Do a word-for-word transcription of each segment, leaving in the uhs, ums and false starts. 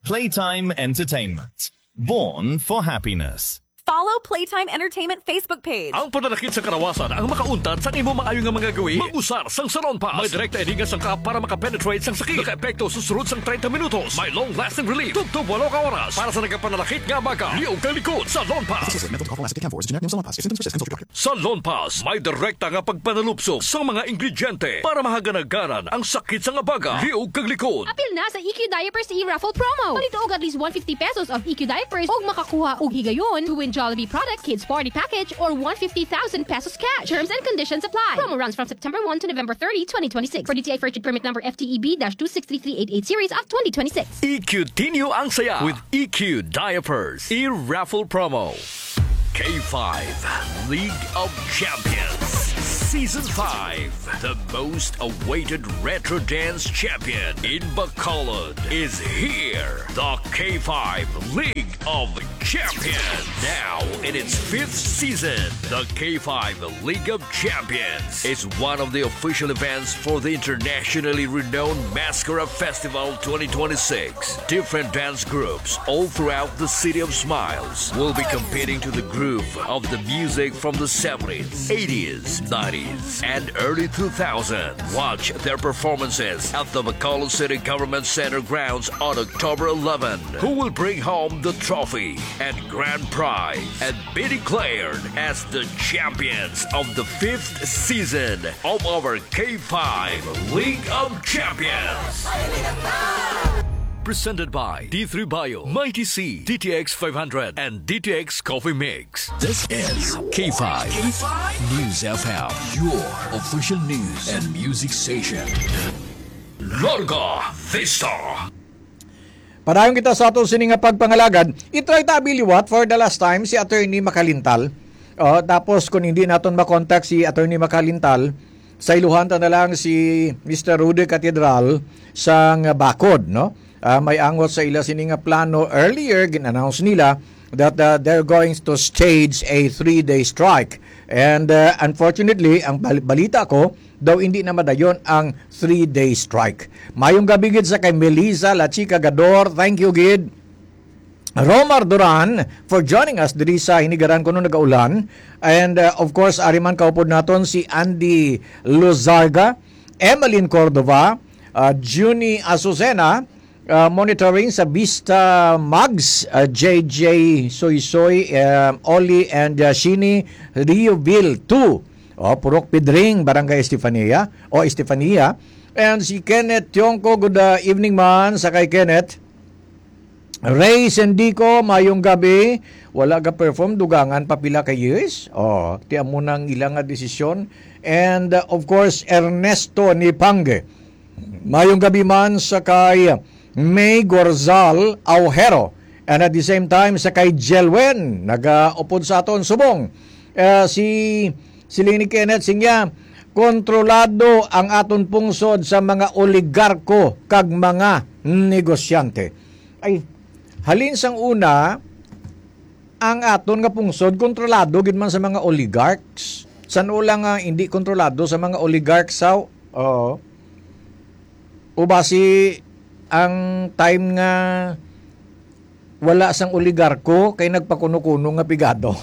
Playtime Entertainment. Born for happiness. Follow Playtime Entertainment Facebook page. Ang pananakit sa kalawasan ang makauntad sa imo maayo nga mga gawi. Mag-usar sang Salon Pass. May direkta ini nga sangkap para makapenetrate sang sakit. Nakaepekto sa sulod sang treinta minutos. May long-lasting relief. Tubtob walo ka oras. Para sa nagapananakit nga abaga, liog kag likod, Salon Pass. Associated with Mental Coffee Acetate Camphor is a generic name of Salon Pass. If symptoms persist, consult your doctor. Sa Lonpas, may direkta nga pagpanalupsok sa mga ingrediente para mahaganagaran ang sakit sang abaga, liog kag likod. Apil na sa E Q Diapers e-raffle promo. Palito og at least one fifty pesos of E Q Diapers ug makakuha og higayon to win Jollibee product, kids party package, or one fifty thousand pesos cash. Terms and conditions apply. Promo runs from September one to November thirty, twenty twenty-six. For D T I Purchase Permit Number F T E B dash two six three three eight eight series of twenty twenty-six. E Q Tinyo ang saya with E Q Diapers e-raffle promo. K five League of Champions Season five. The most awaited retro dance champion in Bacolod is here. The K five League of Champions. Now in its fifth season, the K five League of Champions is one of the official events for the internationally renowned Mascara Festival twenty twenty-six. Different dance groups all throughout the City of Smiles will be competing to the groove of the music from the seventies, eighties, nineties, and early two thousands. Watch their performances at the Bacolod City Government Center grounds on October eleven. Who will bring home the trophy and grand prize and be declared as the champions of the fifth season of our K five League of Champions. Presented by D three Bio, Mighty C, D T X five hundred, and D T X Coffee Mix. This is K five News F M, your official news and music station. Larga Vista. Padayon kita sa aton sini nga pagpangalagad. I-try ta abi liwat for the last time si Attorney Makalintal. Oh, tapos kung hindi naton makontak si Attorney Makalintal, sayluhan ta na lang si Mister Rudy Catedral sang Bacod, no? Ah, may angot sa ila sini nga plano. Earlier, gin-announce nila that, ah, they're going to stage a three-day strike. And, ah, unfortunately, ang bal-, balita ko, daw hindi na madayon ang three-day strike. Mayong gabi gid sa kay Melissa La Chica Gador. Thank you gid. Romar Duran for joining us diri sa Hinigaran Kuno Nagaulan. And, uh, of course, ari man kaupod naton si Andy Lozarga, Emeline Cordova, uh, Junie Azucena, uh, monitoring sa Vista Mags, uh, J J Soysoy, uh, Oli, and, uh, Shini Rioville two. O, Purok Pidring, Barangay Estefania. O, Estefania. And si Kenneth Tiongco, good, uh, evening man sa kay Kenneth. Ray Sendico, mayong gabi. Wala ka perform, dugangan pa pila ka years. Oh, ti amo nang ila nga desisyon. And, uh, of course, Ernesto Nipangue. Mayong gabi man sa kay May Gorzal Aujero. And at the same time, sa kay Jelwen, nagaupod sa aton subong. Uh, si, si Lini Kenneth, singya, kontrolado ang aton pungsod sa mga oligarko kag mga negosyante. Ay, halin sang una, ang aton nga pungsod kontrolado gid man sa mga oligarchs. San-o lang nga hindi kontrolado sa mga oligarchs, sa, oo. O basi ang time nga wala sang oligarko kay nagpakuno-kuno nga pigado.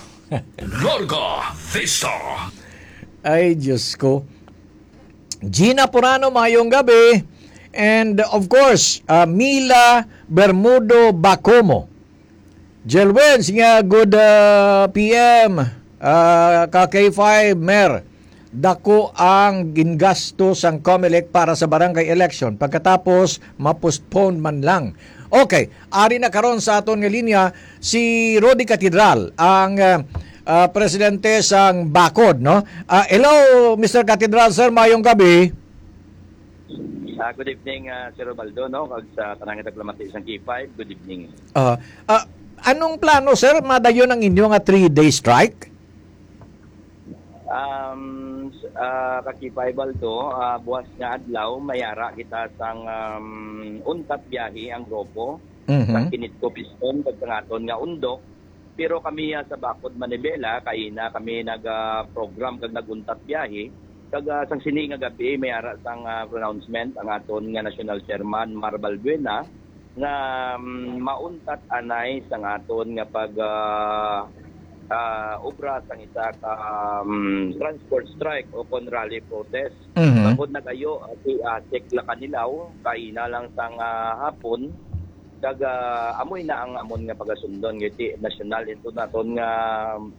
Larga Vista. Ay, Diyos ko. Gina Purano, mayong gabi. And of course, uh, Mila Bermudo Bacomo. Jelwens nga good, uh, P M, uh, ka K five, Mer. Dako ang gingasto sang Comelec para sa barangay election. Pagkatapos, ma-postpone man lang. Okay, ari na karon sa aton nga linya si Rudy Catedral, ang, uh, uh, presidente sang Bacod, no? Uh, hello, Mister Catedral, sir, mayong gabi. Ah, good evening, ah, Sir Robaldo, no? Kag sa tanang nga tagpalamati sang K five, good evening. Ah, ah, anong plano, sir? Madayon ang inyo nga three-day strike? Um, s-, ah, ka K five, Baldo, ah, buwas nga adlaw, mayara kita sang, um, untat biyahe ang grupo, Mhm. sang Kinitco Piston, kag sang aton nga Undok. Pero kami, ah, sa Bacod Manibela, kaina kami nag, ah, program kag nag-untat biyahe. Kag, ah, sang sini nga gabi, may ara sang, ah, pronouncement ang aton nga national chairman, Mar Balbuena. nga, mm, mauntat anay sang aton nga pag, ah, ah, obra sang isa ka, mm, transport strike o kon rally protest. Mhm. Bangod nagayo, ah, si ASEC Lakanilaw, kaina lang sang, ah, hapon, kag, ah, amoy na ang amon nga pagasundon, kay ti nasyonal ito naton nga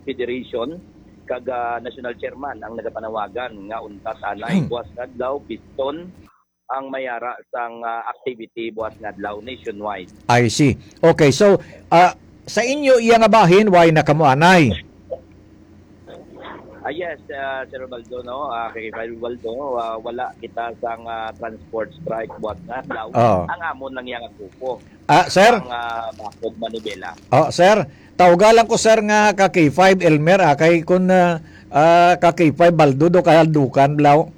federation, kag, ah, national chairman ang nagapanawagan nga untat anay buwas nga adlaw, biston ang mayara sang, ah, activity buwas nga adlaw nationwide. I see. Okay, so, ah, sa inyo iya nga bahin, way na kamo anay? Ah, yes, ah, Sir Ubaldo, no? Ah, kay Kay Ubaldo, ah, wala kita sang, ah, transport strike buwas nga adlaw. Oo. Ang amon lang yang grupo. Ah, sir? Ang, ah, Bakod Manibela. Oh, sir, tawga lang ko, sir, nga ka K five Elmer, ah, kay kun, ah, ah, ka K five Baldo do kahaldukan, blaw.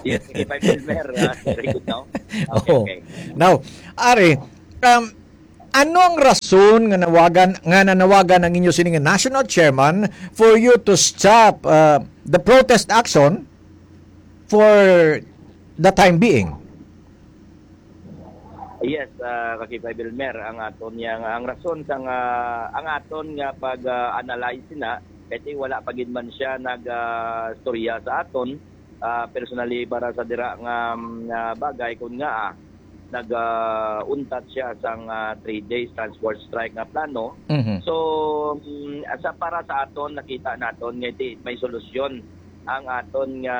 Yes, K five Elmer, ah, very good, no? Okay, Oo. Okay. Now, Ari, um, ano ang rason nga nawagan, nga nanawagan ang inyo sining national chairman for you to stop, uh, the protest action for the time being? Yes, ah, ka K five Elmer, ang aton niya nga, ang rason sang, ah, ang aton nga pag, ah, analyze na, kay ti wala pa gid man siya nag, ah, storya sa aton, ah, personally para sa dira nga, mm, nga bagay, kun nga, ah, nag, ah, untat siya sang, ah, three days transport strike nga plano. Mhm. So, mm, sa, para sa aton, nakita naton nga di may solusyon ang aton nga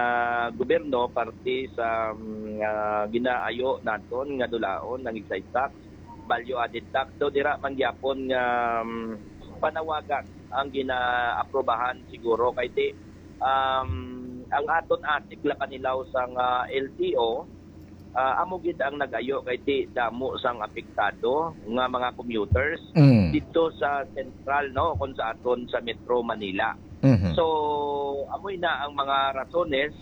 gobyerno, parte sa, mm, nga ginaayo naton nga dulaon ang excise tax, value added tax, daw dira man gyapon nga, mm, panawagan ang ginaaprobahan siguro kay ti, um, ang aton ASEC Lakanilaw sang, ah, L T O, ah, amo gid ang nagayo kay ti damo sang apektado nga mga commuters Mm. dito sa sentral, no, kung sa aton sa Metro Manila. Mhm. So, amoy na ang mga rasones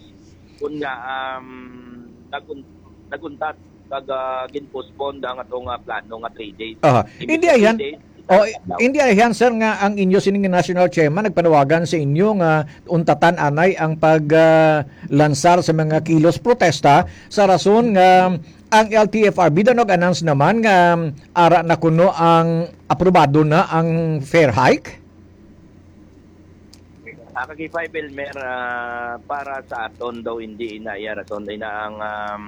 kung nga, um, nagun-, naguntat kag, ah, gin-postpone ang atong, ah, plano nga three days. Aha. Imbis Hindi na ayan. three days, Oh, isa ka adlaw. Hindi ayan, sir, nga ang inyo sining national chairman nagpanawagan sa inyo nga untatan anay ang pag, ah, lansar sa mga kilos protesta sa rason nga ang L T F R B daw nag-announce naman nga, um, ara na kuno ang aprobado na ang fare hike? Ah, ka K five Elmer, ah, para sa aton daw, hindi ina iya rason, ina ang, um,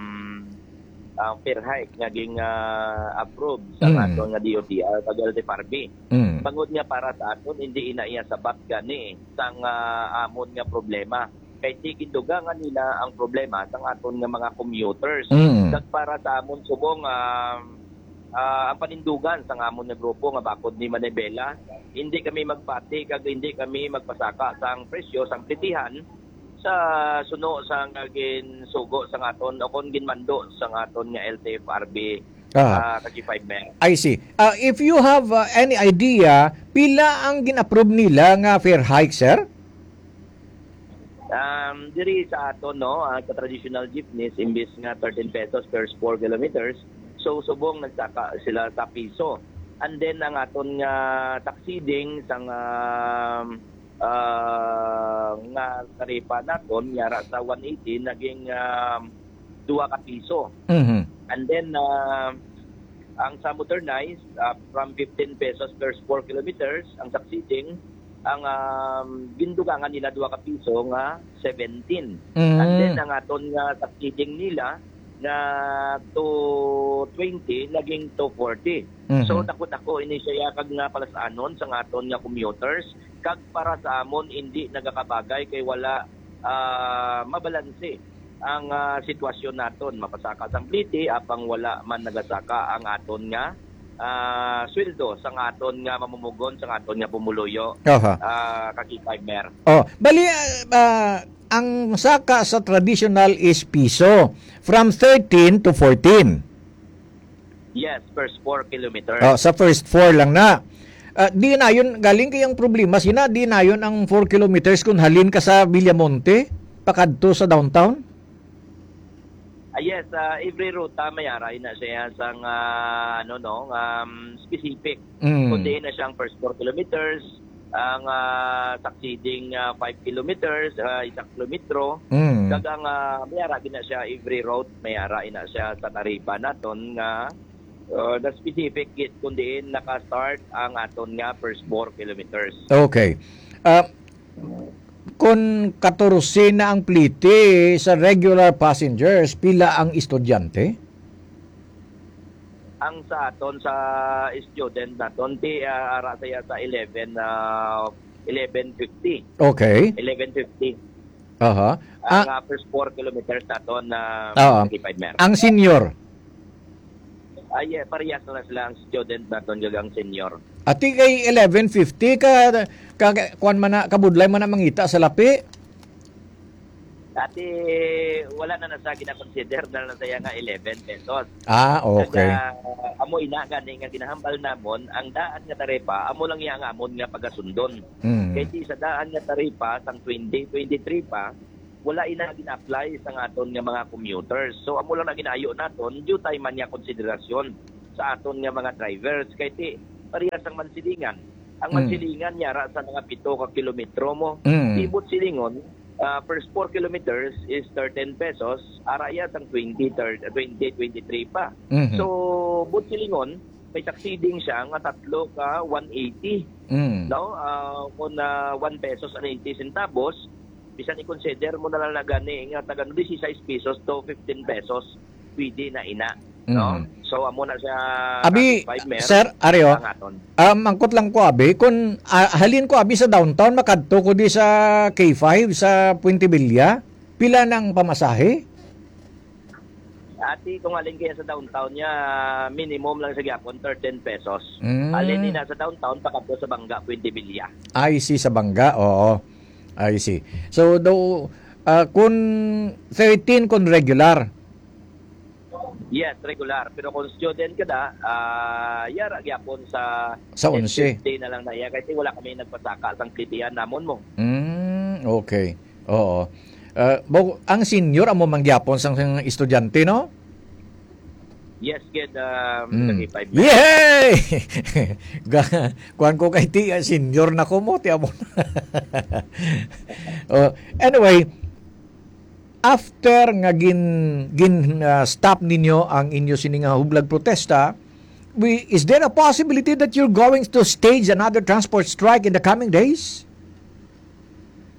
ang fare hike nga ging, ah, approve sa Mm. aton nga D O T R kag L T F R B. Mm. Bangod nga para sa aton, hindi ina iya sabat gani sang, ah, amon nga problema. Kay ti gindugangan nila ang problema sang aton nga mga commuters. Mm. Kag para sa amon subong, ah, ah, ang panindugan sang amon nga grupo nga Bakod ni Manibela, hindi kami magpati kag hindi kami magpasaka sang presyo sang plitihan sa suno sang ginsugo sang aton o kon ginmando sang aton nga L T F R B, Ah. ah, ka K five Mer. I see. Ah, if you have, ah, any idea, pila ang gin-approve nila nga fare hike, sir? Um, diri sa aton, no, ah, sa traditional jeepneys, imbis nga thirteen pesos per four kilometers, so subong nagsaka sila sa piso. And then ang aton nga taxi ding sang, um, ah, nga taripa naton, yara sa one eighty, naging, um, dua ka piso. Mhm. And then, ah, ang sa modernized, ah, from fifteen pesos per four kilometers, ang succeeding, ang, ah, gindugangan nila dua ka piso nga seventeen. Mm. And then, ang aton nga succeeding nila nga two twenty, naging two forty. Mhm. So, dako-dako ini siya kag nga palasanon sa aton nga commuters. Kag para sa amon, hindi nagakabagay kay wala, ah, mabalanse ang, ah, sitwasyon naton. Mapasaka sang pliti, apang wala man nagasaka ang aton nga, ah, sweldo sang aton nga mamumugon, sang aton nga pumuluyo, Aha. ah, ka K five Mer. Oh, bali, ah, ah, ang saka sa traditional is piso, from thirteen to fourteen. Yes, first four kilometers. Oh, sa first four lang na. Ah, di na yun, galing kay ang problema, sina, di na yun ang four kilometers kung halin ka sa Villamonte, pakadto sa downtown? Ah, yes, ah, every ruta may ara ina siya sang, ah, ano, no, um, specific. Mm. Kung diin na siyang first four kilometers, ang, ah, succeeding, ah, five kilometers, ah, isa kilometro. Mm. Kag ang, ah, may ara gina siya every route, may ara ina siya sa taripa naton nga Uh, the specific gate kung diin naka-start ang aton nga first four kilometers. Okay. Ah, kung katorse na ang plete sa regular passengers, pila ang estudyante? Ang sa aton sa student naton, ti, ah, ara siya sa eleven, ah, eleven fifty. Okay. Eleven fifty. Aha. Ang Ah, ah, first four kilometers naton na Oo. K five mer. Ang senior. Ay, eh, parehas na sila ang student naton kag ang senior. Ati kay eleven fifty ka, ka kuan man na, kabudlay man na mangita sa lapi. Dati, wala na na sa gina-consider na lang saya nga eleven pesos. Ah, okay. Kaya, amo ina gani nga ginahambal namon, ang daan nga taripa, amo lang iya nga amon nga pagasundon. Mm. Kay di sa daan nga taripa, sang twenty twenty-three pa, wala ina gina-apply sa aton nga mga commuters. So, amo lang na ginaayo naton, due time man niya konsiderasyon sa aton nga mga drivers. Kay ti, parehas ang Mansilingan. Ang Mm. Mansilingan niya ra sa mga pito ka kilometro mo. Mm. Di Butsilingon, ah, first four kilometers is thirteen pesos, ara iya sang twenty, thirty, twenty twenty-three pa. Mhm. So, Butsilingon, may succeeding siya nga tatlo ka one eighty. Mm. No? Ah, kung ah, one pesos and eighty centavos, bisan i-consider mo na lang na gani nga taga dieciséis pesos to fifteen pesos, pwede na ina. No? Mhm. So, amo na siya Abi, K five mer, sir, Aryo, ang aton. Ah, mangkot lang ko, abi, kung ah, halin ko, abi, sa downtown, makadto ko di sa K five, sa Puente Villa, pila nang pamasahe? Ati, kung halin kaya sa downtown niya, minimum lang sa gyapon, thirteen pesos. Mm. Halin ni na sa downtown, pakadto sa Bangga, Puente Villa. I see, sa Bangga, oo. I see. So, do, ah, kung thirteen kung regular. Yes, regular. Pero kung student ka na, ah, yara gyapon sa Sa onse. Day na lang na iya. Kasi wala kami nagpasaka sang plitihan namon mo. Mm, okay. Oo. Ah, bo- ang senior amo mangyapon sang, sang estudyante, no? Yes, kid, um, Mm. sa K five. Yay! Ga- Kuan ko kay ti, ah, senior na ko mo, ti amo. Oh, anyway, after nga gin gin ah, stop ninyo ang inyo sini nga hublag protesta, we, is there a possibility that you're going to stage another transport strike in the coming days?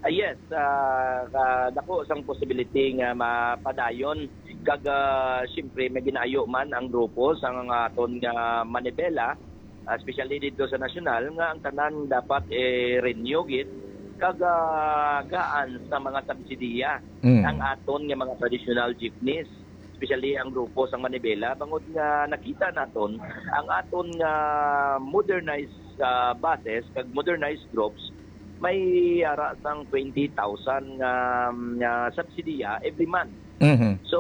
Ah, yes, ah, ka- dako sang possibility nga mapadayon. Kag ah, siyempre, may ginaayo man ang grupo sa nga aton nga manibela, ah, especially dito sa nasyonal, nga ang tanan dapat i-renew gid kag ah, gaan sa mga subsidiya Mm. ang aton nga mga traditional jeepneys, especially ang grupo sang manibela, bangod nga nakita naton ang aton nga modernized ah, buses kag modernized groups may ara sang twenty thousand nga, nga subsidiya every month. Mhm. So,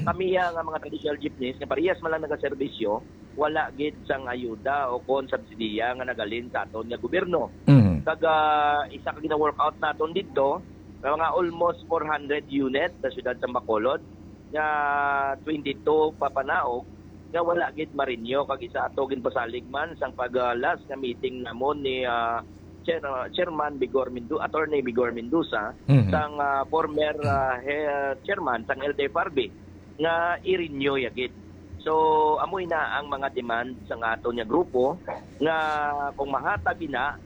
kami ya nga mga traditional jeepneys nga parehas man lang nagaserbisyo, wala gid sang ayuda o kon subsidiya nga nagalin sa aton nga gobyerno. Mhm. Kag ah, isa ka gina-workout naton didto, nga mga almost four hundred unit sa siyudad sa Bacolod, nga twenty-two papanaog nga wala gid marinyo, kag isa ato ginpasalig man sang pag ah, last nga meeting namon ni ah, Chair- ah, Chairman Bigor Mendoza, Attorney Bigor Mendoza, Mhm. sang ah, former ah, he- Chairman sang L T F R B nga i-renew ya gid. So, amoy na ang mga demand sa aton nga grupo nga kung mahatag ina,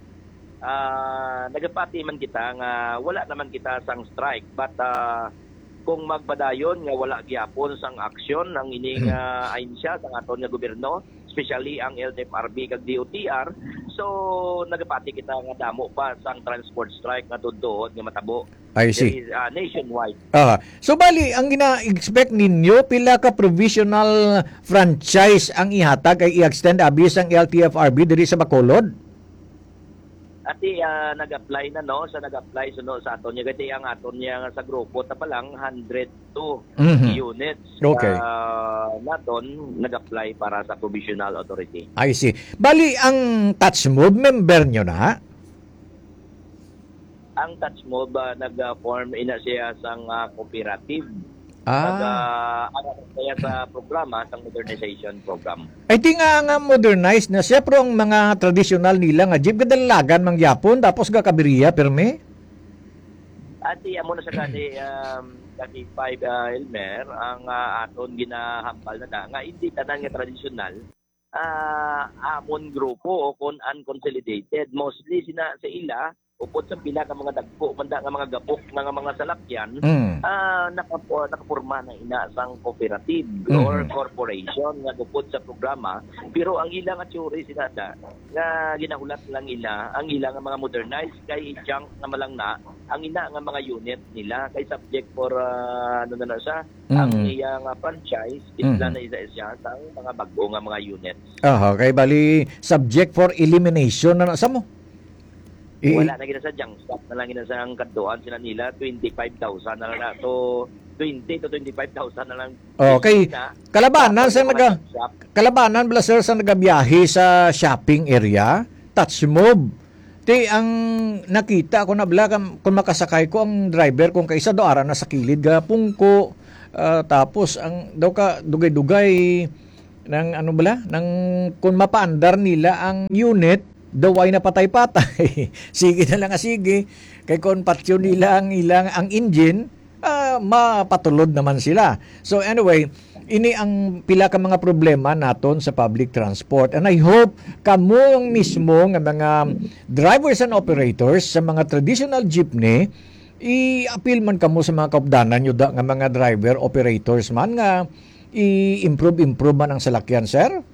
ah, nagapati man kita nga wala naman kita sang strike, but ah, kung magpadayon nga wala gyapon sang aksyon ang ining ah, ahensya sang aton nga gobyerno, especially ang L T F R B kag D O T R, so nagapati kita nga damo pa sang transport strike nga tudtoon nga matabo. I see. There is, ah, nationwide. Ah, so bali ang gina-expect ninyo pila ka provisional franchise ang ihatag ay i-extend abi sang L T F R B diri sa Bacolod? Ati ah, nag-apply na, no, sa nag-apply suno sa aton niya, kasi ang aton niya nga sa grupo ta pa lang hundred two Mhm. units Okay. ah, naton nag-apply para sa provisional authority. I see. Bali ang Touch Move member nyo na? Ang Touch Move ah, nag-form ina siya sang ah, cooperative. Pag Ah. ah, ano kaya sa programa, sa modernization program. I think nga, nga modernized na siya, pero ang mga traditional nila nga jeep, kadalagan mangyapon, tapos gakabiriya, pirmi? Ati, amo na sa gani, um, kani five, ah, Elmer, ang, ah, aton ginahambal na da, nga hindi tanan nga tradisyonal, ah, amon grupo o kon unconsolidated. Mostly sina sa ila, upod sa pila ka mga dagko man da nga mga gabok na nga mga salakyan, Mm. ah, nakapo-, nakaporma na ina sang cooperative or Mm. corporation nga upod sa programa, pero ang ila nga theory sina da, nga ginahulat lang ila, ang ila nga mga modernized kay junk na malang na, ang ina nga mga unit nila kay subject for, ah, ano na lang siya, ang Mm. iya nga franchise, Mm. isla na isa siya sa mga bag-o nga mga units. Aha, kay bali subject for elimination na na sa mo. I- Wala na gina sa junk shop na lang gina sa ang kadtuan sila nila, twenty-five thousand na lang na. So, twenty to twenty-five thousand na lang. Okay. Na, Kalabanan dapat sa yung mga naga-, junk shop. Kalabanan bala, sir, sa nagabiyahe sa shopping area, touch move. Ti, ang nakita ko na bala, kam-, kung makasakay ko ang driver, kung kaisa daw ara na sa kilid ga pungko, ah, tapos ang daw ka dugay-dugay ng ano bala, ng kung mapaandar nila ang unit, daw ay napatay-patay. Sige na lang nga sige. Kay kung patyon nila ang ilang, ang engine, ah, mapatulod naman sila. So anyway, ini ang pila ka mga problema naton sa public transport. And I hope kamo ang mismo nga mga drivers and operators sa mga traditional jeepney, i-appeal man kamo sa mga kaupdanan nyo da, nga mga driver operators man nga i-improve-improve man ang salakyan, sir?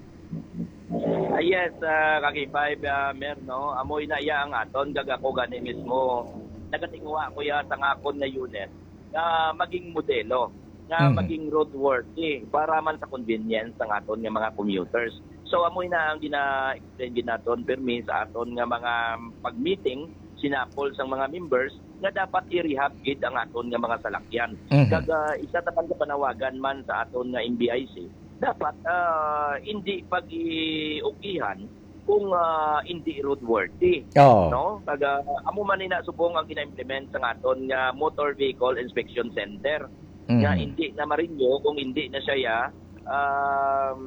Ah, yes, ah, Kaki Five, ah, Mer, no? Amo ina iya ang aton, kag ako gani mismo, nagatinguha ko iya sa nga akon nga unit nga maging modelo, nga Mhm. maging roadworthy para man sa convenience sang aton nga mga commuters. So, amo ina ang gina-explain gid naton, permi sa aton nga mga pag-meeting, sinapol sang mga members, nga dapat i-rehab gid ang aton nga mga salakyan. Mhm. Kag, ah, isa ta man ka panawagan man sa aton nga M B I C, dapat, ah, hindi pag-iukihan kung, ah, hindi roadworthy. Oo. No? Kag, ah, amo man ina subong ang gina-implement sa aton nga Motor Vehicle Inspection Center, nga Mhm. hindi na marinyo kung hindi na siya ya, um,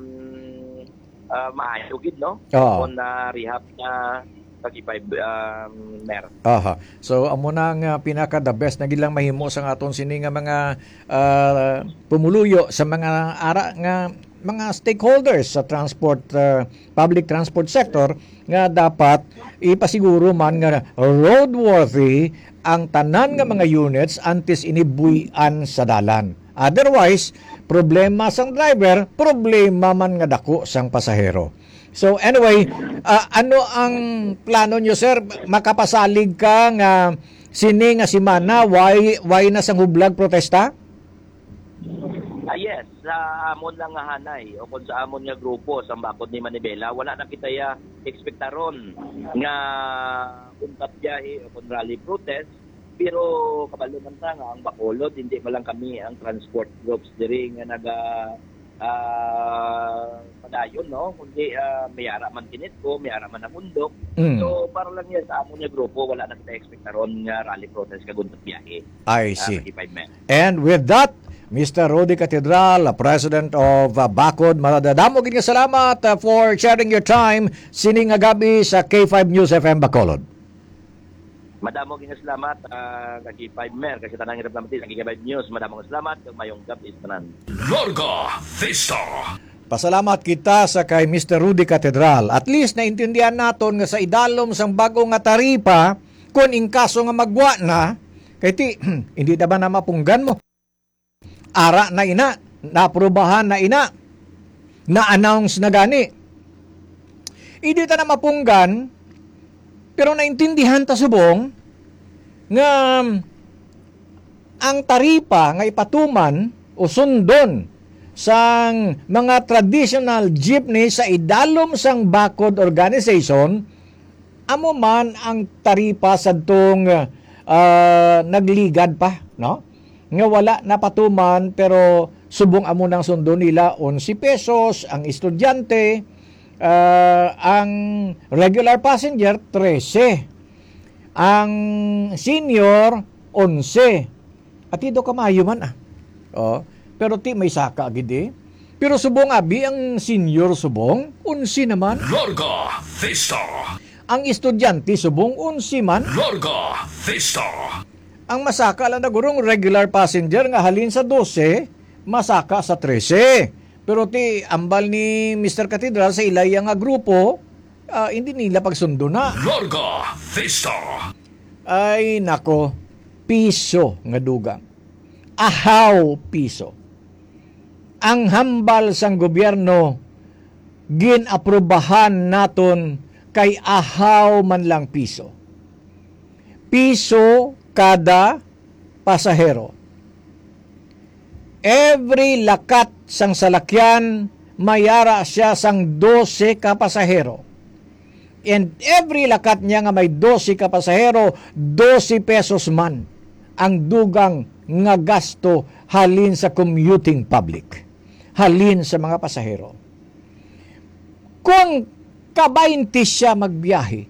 ah, maayo gid, no? Oo. Kung na-rehab na, Kaki Five, um, Mer. Aha. So, amo na ang, ah, pinaka the best na gid lang mahimo sa aton sini nga mga, ah, pumuluyo sa mga ara nga mga stakeholders sa transport, ah, public transport sector nga dapat ipasiguro man nga roadworthy ang tanan nga mga units antes ini buy-an sa dalan. Otherwise, problema sang driver, problema man nga dako sang pasahero. So anyway, ah, ano ang plano nyo, sir? Makapasalig ka nga sini nga semana, why, why na sang hublag protesta? Ah, yes, sa amon lang nga hanay o kung sa amon nga grupo sa bakod ni Manibela, wala na kita ya ekspektaron nga untat biyahe o kung rally protest. Pero kabalo man ta nga ang Bacolod, hindi man lang kami ang transport groups diri nga naga, ah, padayon, no? Kundi, ah, may ara man kinitko, may ara man namundok. Mm. So, para lang yan sa amon nga grupo, wala na kita ekspektaron nga rally protest kag untat biyahe. I Ah, see. Kaki Five Mer. And with that, Mister Rudy Catedral, uh, President of, uh, Bakod, madamo gid nga salamat, uh, for sharing your time sining nga gab-i sa K five News F M Bacolod. Madamo gid nga salamat, ah, Kaki Five Mer, kag sa tanan nga nagpamati sa K five News. Madamo nga salamat, kag mayong gab-i sa tanan. Larga Vista. Pasalamat kita sa kay Mister Rudy Catedral. At least naintindihan naton nga sa idalom sang bag-o nga taripa, kun in kaso nga magwa na, kay ti, hindi na ba na mapunggan mo? Ara na ina, naaprubahan na ina, na-announce na gani. Hindi ta na mapunggan, pero naintindihan ta subong nga ang taripa nga ipatuman o sundon sang mga traditional jeepney sa idalom sang Bakod Organization, amo man ang taripa sadtong, ah, nagligad pa, no? Nga wala napatuman, pero subong amo nang sundo nila, onse pesos ang estudyante, ah, ang regular passenger, trese. Ang senior, onse. Ati do kamayo man, ah. Oh, pero ti may saka gid, eh. Pero subong abi ang senior subong, onse naman. Larga Vista. Ang estudyante subong, onse man. Larga Vista. Ang masaka lang na gurong regular passenger nga halin sa dose, masaka sa trese. Pero ti ambal ni Mister Cathedral sa ilaya nga grupo, ah, hindi nila pagsundo na. Larga Vista. Ay nako, piso nga dugang. Ahaw piso. Ang hambal sang gobyerno, gin-aprubahan naton kay ahaw man lang piso. Piso kada pasahero. Every lakat sang salakyan, mayara siya sang dose ka pasahero. And every lakat niya nga may dose ka pasahero, dose pesos man ang dugang nga gasto halin sa commuting public, halin sa mga pasahero. Kung kabaynte siya magbiyahe,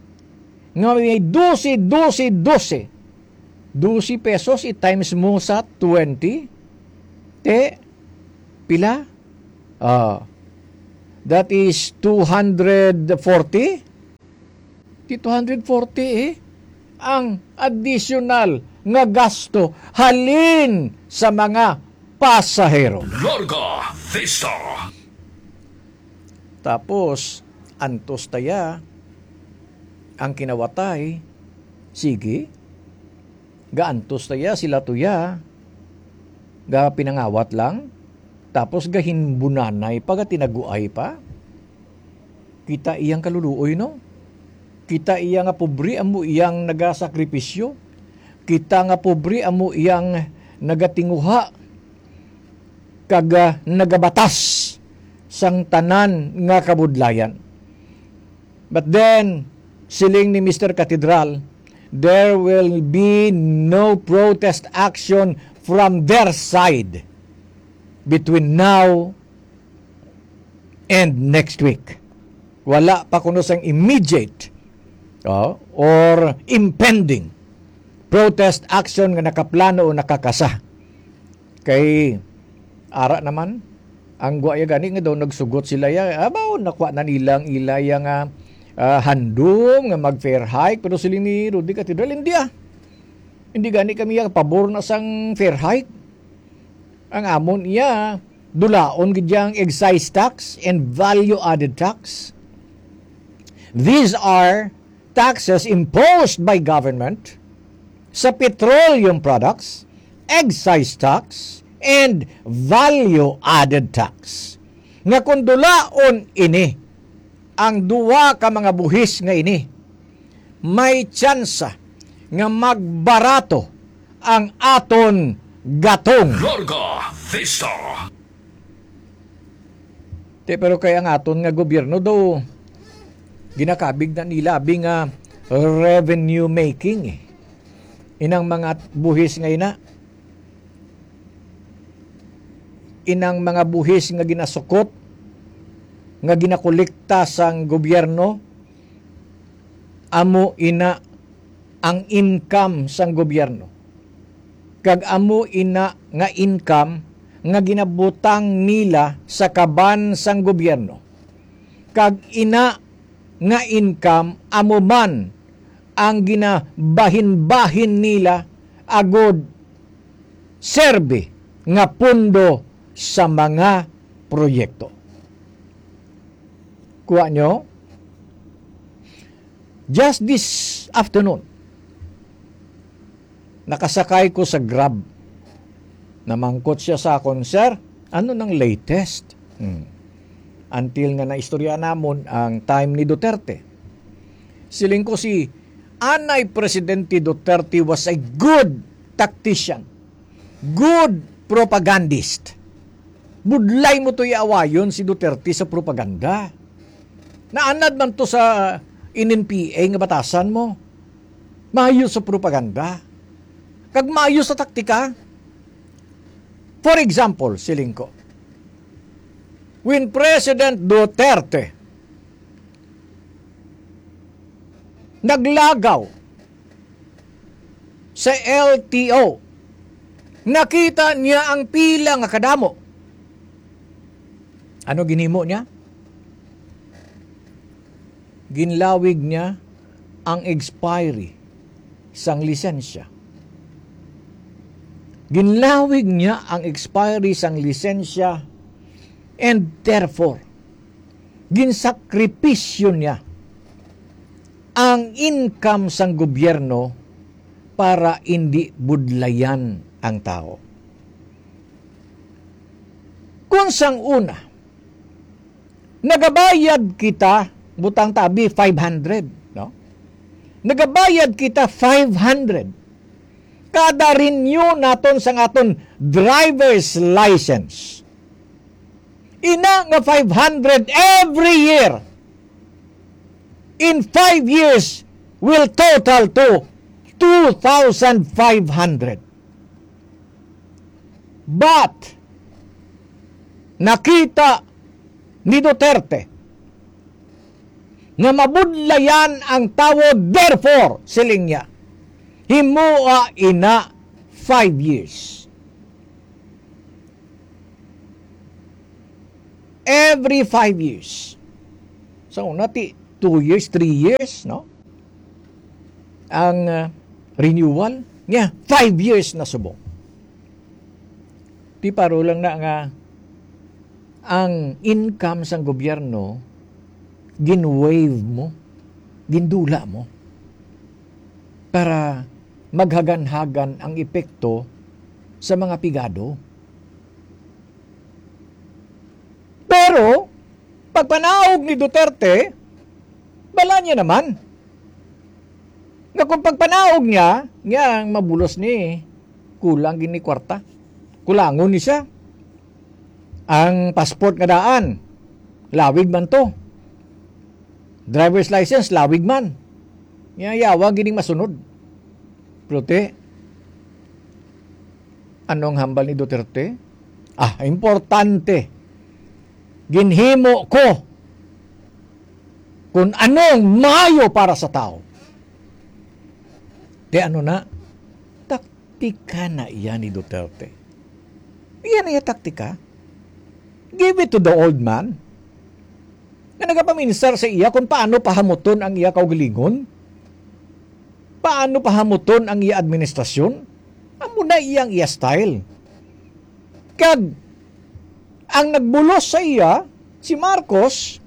nga may dose, dose, dose, dose pesos, i-times mo sa twenty, te, pila? Ah, that is two hundred forty? Di two hundred forty, eh, ang additional nga gasto halin sa mga pasahero. Larga Vista. Tapos, antos taya ang kinawatay. Sige, gaantos taya sila tuya, ga pinangawat lang, tapos gahinbunanay pa, gatinaguay pa. Kita iyang kaluluoy, no? Kita iya nga pobre amo iyang nagasakripisyo. Kita nga pobre amo iyang nagatinguha kag, ah, nagabatas sang tanan nga kabudlayan. But then, siling ni Mister Cathedral, there will be no protest action from their side between now and next week. Wala pa kuno sang immediate, oh, or impending protest action nga nakaplano o nakakasa. Kay ara naman, ang gwa ya gani nga daw nagsugot sila ya, abaw, nakuha na nila ang ila ya nga, ah, handom nga mag-fair hike, pero siling ni Rudy Cathedral, "Hindi, ah. Hindi gani kami ya pabor na sang fair hike. Ang amon iya, dulaon gid yang excise tax and value-added tax. These are taxes imposed by government sa petroleum products, excise tax, and value-added tax. Nga kung dulaon ini, ang duha ka mga buhis nga ini, may tsansa nga magbarato ang aton gatong." Larga Vista. Te, pero kay ang aton nga gobyerno daw ginakabig na nila abi nga revenue making, eh. Inang mga buhis nga ina, inang mga buhis nga ginasukot, nga ginakolekta sang gobyerno, amo ina ang income sang gobyerno. Kag amo ina nga income nga ginabutang nila sa kaban sang gobyerno. Kag ina nga income amo man ang ginabahin-bahin nila agud serbi nga pundo sa mga proyekto. Kuha nyo? Just this afternoon, nakasakay ko sa Grab. Namangkot siya sa akon, "Sir, ano nang latest?" Hmm. Until nga naistorya namon ang time ni Duterte. Siling ko, si Anay Presidente Duterte was a good tactician, good propagandist. Budlay mo to iawayon si Duterte sa propaganda. Naanad man to sa N N P A nga batasan mo. Maayo sa propaganda. Kag maayo sa taktika. For example, siling ko, when President Duterte naglagaw sa L T O, nakita niya ang pila nga kadamo. Ano ginhimo niya? Ginlawig niya ang expiry sang lisensya. Ginlawig niya ang expiry sang lisensya, and therefore, ginsakripisyo niya ang income sang gobyerno para indi budlayan ang tawo. Kung sang una, nagabayad kita, butang tabi, five hundred, no? Nagabayad kita five hundred kada renew naton sang aton driver's license. Ina nga five hundred every year, in five years, will total to two thousand five hundred. But, nakita ni Duterte nga mabudlayan ang tawo, therefore, siling niya, himoa ina five years. Every five years. So, nati two years, three years, no? Ang, ah, renewal niya, five years na subong. Ti paro lang na nga ang income sang gobyerno, gin-waive mo, gindula mo para maghagan-hagan ang epekto sa mga pigado. Pero, pagpanaog ni Duterte, bala niya naman. Nga kung pagpanaog niya, niya ang mabulos ni, kulang gini kwarta. Kulangon ni siya. Ang passport nga daan, lawig man to. Driver's license, lawig man. Niya yawa gining masunod. Pero te, ano ang hambal ni Duterte? Ah, importante. Ginhimo ko kung ano ang maayo para sa tao. Te, ano na? Taktika na iya ni Duterte. Iya na iya taktika. Give it to the old man. Nga nagapaminsar sa iya kung paano pahamuton ang iya kaugalingon. Paano pahamuton ang iya administrasyon. Amo na iyang iya style. Kag ang nagbulos sa iya, si Marcos,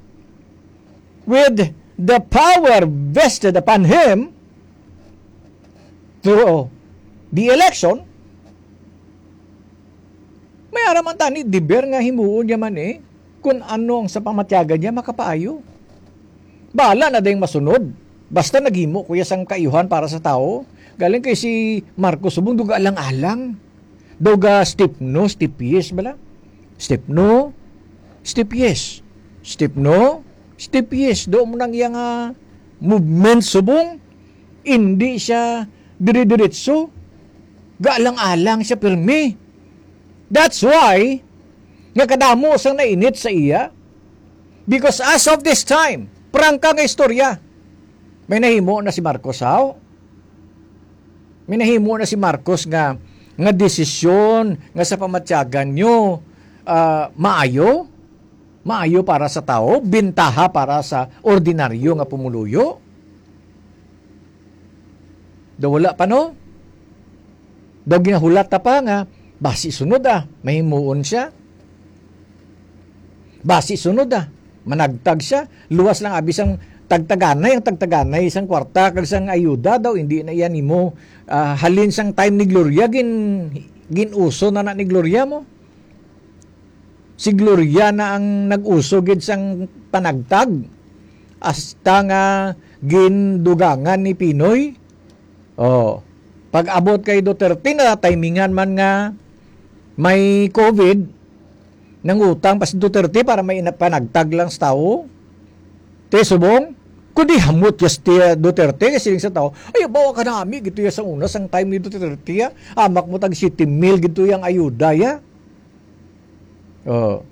with the power vested upon him through the election, may ara man tani deber nga himuon niya man eh kung ano ang sa pamatyagan niya makapaayo. Bahala na dayang masunod. Basta naghimo ko iya sang kaayuhan para sa tawo. Galing kay si Marcos subong duga alang-alang. Daw ga step no, step yes bala. Step no, step yes. Step no, step yes. Do mo nang iya nga movement subong. Hindi siya dire-diretso. Gaalang-alang siya pirmi. That's why nga kadamo sang nainit sa iya. Because as of this time, prangka nga istorya, may nahimo na si Marcos, haw? May nahimo na si Marcos nga, nga desisyon nga sa pamatyagan nyo, ah, maayo? Maayo para sa tawo, bintaha para sa ordinaryo nga pumuluyo? Daw wala pa, no? Daw ginahulat ta pa nga, basi sunod, ah, mahimuon siya. Basi sunod, ah, managtag siya. Luwas lang abi sang tagtaganay, ang tagtaganay sang kwarta kag sang ayuda daw, hindi na iya nimo, ah, halin sang time ni Gloria, gin-, gin-uso na na ni Gloria mo. Si Gloria na ang nag-uso gid sang panagtag, hasta nga gindugangan ni Pinoy. Oh, pag-abot kay Duterte, na timingan man nga may covid, nangutang pa si Duterte para may ina-, panagtag lang sa tawo. Te, subong, kundi hamot ya si Duterte, kay siling sa tawo, "Ay, bawa ka nami, gito ya sa una, sang time ni Duterte, ah. Amak mo tag siyete mil, gito yang ayuda, ya." Oh.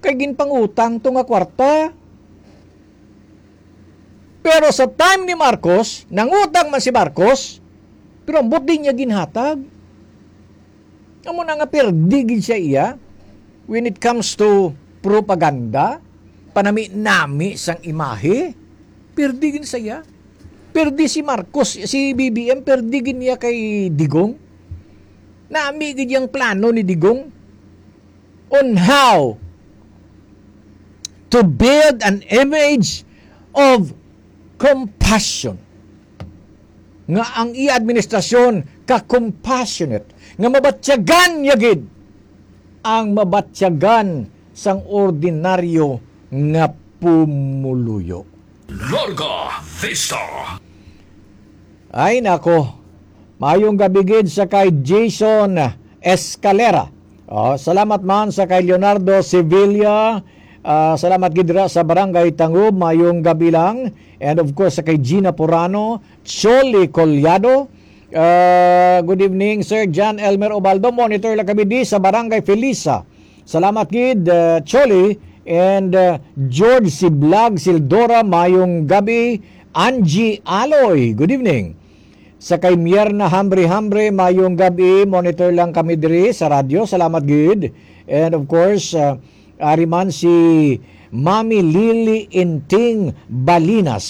Kay ginpangutang to nga kwarta. Pero sa time ni Marcos, nangutang man si Marcos, pero ambot din niya ginhatag. Amo na nga, perdi gid siya iya when it comes to propaganda, panami-nami sang imahe. Perdi gid siya. Perdi si Marcos, si B B M, perdi gid niya kay Digong. Nami gid yang plano ni Digong on how to build an image of compassion, nga ang iya administrasyon ka-compassionate, nga mabatyagan niya gid ang mabatyagan sang ordinaryo nga pumuluyo. Larga Vista. Ay nako, mayong gabi gid sa kay Jason Escalera. Oh, salamat man sa kay Leonardo Sevilla. Ah, salamat gid ra sa Barangay Tangub, mayong gabi lang. And of course, sa kay Gina Porano, Choli Collado. Ah, good evening, Sir John Elmer Obaldo. Monitor lang kami di sa Barangay Felisa. Salamat gid, ah, Choli and, ah, George Siblag Sildora, mayong gabi. Angie Aloy, good evening. Sa kay Mierna Hambre Hambre, mayong gabi. Monitor lang kami diri sa radyo. Salamat gid. And of course, ah, ari man si Mami Lily Inting Balinas.